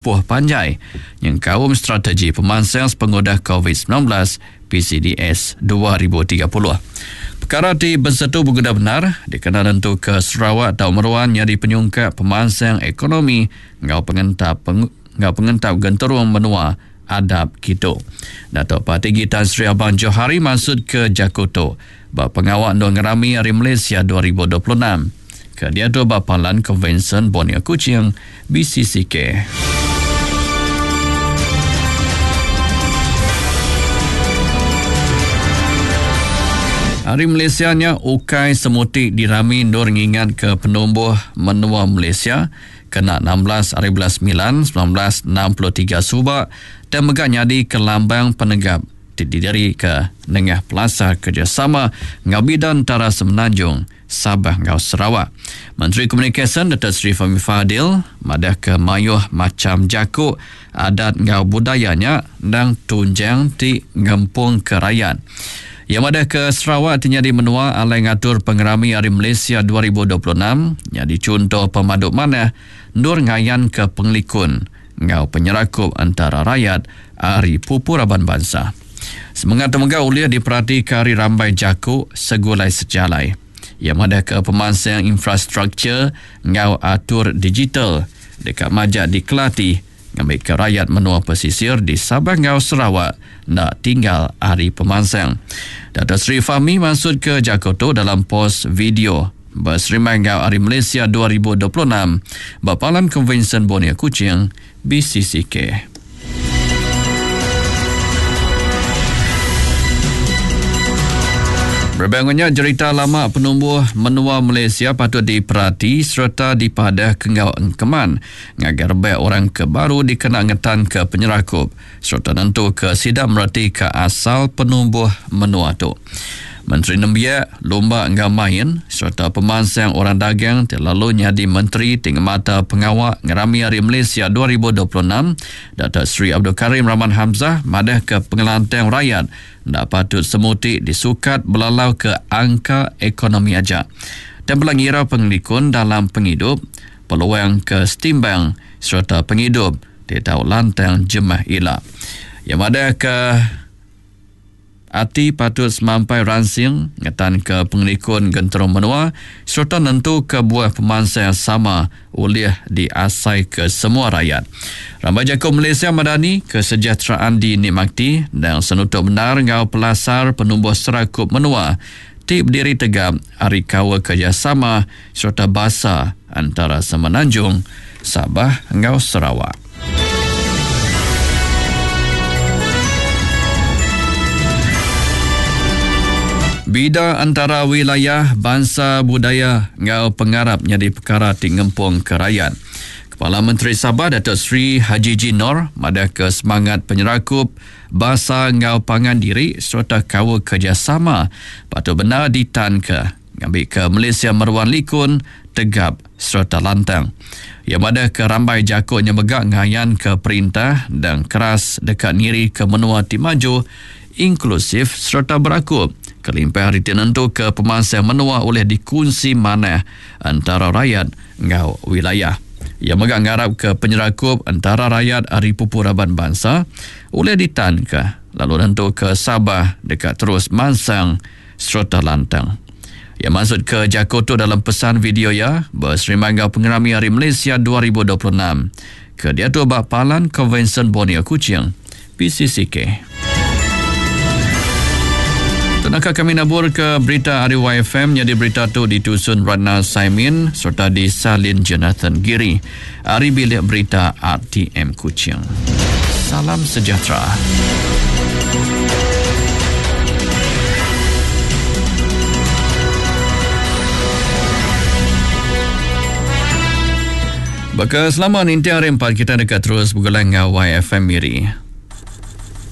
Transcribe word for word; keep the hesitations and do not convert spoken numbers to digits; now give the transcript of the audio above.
timpuh panjai nyengkaum strategi pemansang sepengudah COVID sembilan belas P C D S dua ribu tiga puluh. Perkara ti besetu berguna benar dikena nentu ke Sarawak tau meruan jadi penyungkak pemansang ekonomi ngau pengentap peng, ngau pengentap genterung menua adab kitu. Datuk Patinggi Tan Sri Abang Johari maksud ke Jakoto ba pengawak Ndong Ngerami Hari Malaysia dua ribu dua puluh enam. Ke dia tu ba Palan Konvensyen Borneo Kuching B C C K. Hari Malaysia nya ukai semuti dirami nur ngingat ke penumbuh menua Malaysia kena enam belas hari bulan sembilan sembilan belas enam puluh tiga subak dan mega nyadi ke lambang penegap ti didiri ke nengah Plaza Kerjasama ngau bidang antara Semenanjung Sabah ngau Sarawak. Menteri Komunikasi Datuk Seri Fahmi Fadil madah ke mayuh macam jakuk adat ngau budayanya ndang tunjang ti ngempung ke rakyat. Yang madah ke Sarawak ti nyadi menua alai ngatur pengerami Hari Malaysia dua ribu dua puluh enam nyadi contoh pemaduk manah nur ngayan ke pengelikun ngau penyerakup antara rakyat ari pupu raban bangsa. Semangat temegah uliah diperhati ke hari rambai jakuk segulai sejalai. Yang madah ke pemansang infrastruktur ngau atur digital dekat majak dikelati ngambil ke rakyat menua pesisir di Sabah ngau Sarawak nak tinggal hari pemansang. Datuk Seri Fahmi maksud ke Jakoto dalam pos video berserimai ngau Hari Malaysia dua ribu dua puluh enam Bapalan Konvensyen Borneo Kuching B C C K. Berbangunnya cerita lama penumbuh menua Malaysia patut diperhati serta dipadah kengau engkeman ngagar rebek orang ke baru dikena ngetan ke penyerakup serta nentu ke sidap mereti ke asal penumbuh menua tu. Menteri Nembiak, Lumba Enggau Main serta pemansang orang dagang terlalu nyadi Menteri Tingmata Pengawak Ngerami Hari Malaysia dua ribu dua puluh enam, Datuk Seri Abdul Karim Rahman Hamzah madah ke pengelantang rakyat nak patut semuti disukat belalau ke angka ekonomi aja. Dan belangira pengelikun dalam penghidup, peluang ke setimbang serta penghidup di tau lantang jemah ila. Yang ada ke ati patut semampai ransing ngetan ke pengelikun genterung menua serta nentu ke buah pemansang yang sama oleh diasai ke semua rakyat. Rambai Jakob Malaysia Madani kesejahteraan dinikmati dan senutup benar ngau pelasar penumbuh serakup menua ti berdiri tegap hari kawa kerjasama serta basa antara Semenanjung, Sabah ngau Sarawak. Bida antara wilayah, bangsa, budaya ngau pengarap nyadi perkara ti ngempung ke rakyat. Kepala Menteri Sabah Datuk Seri Hajiji Noor madah ke semangat penyerakup basa ngau pangan diri serta kawa kerjasama patut benar ditan ke ngambil ke Malaysia meruan likun, tegap serta lantang. Yang madah ke rambai jakuknya megak ngayan ke perintah dan keras dekat niri ke menua ti maju, inklusif serta berakup. Kelimpah hari tentu ke pemansang menua oleh dikunci mana antara rakyat ngau wilayah. Yang megak ngarap ke penyerakup antara rakyat hari pupu raban bangsa oleh ditan ke lalu tentu ke Sabah dekat terus mansang serta lantang. Yang maksud ke Jakoto dalam pesan video ya berserimai ngau pengerami Hari Malaysia dua ribu dua puluh enam ke dia tu bak Palan Konvensyen Borneo Kuching P C C K. Tenaka kami nabur ke berita Hari Y F M jadi berita tu ditusun Ratna Saimin serta disalin Jonathan Giri. Hari bilik berita R T M Kuching. Salam sejahtera. Baka selama ninti hari empat kita dekat terus bergulang dengan Y F M Miri.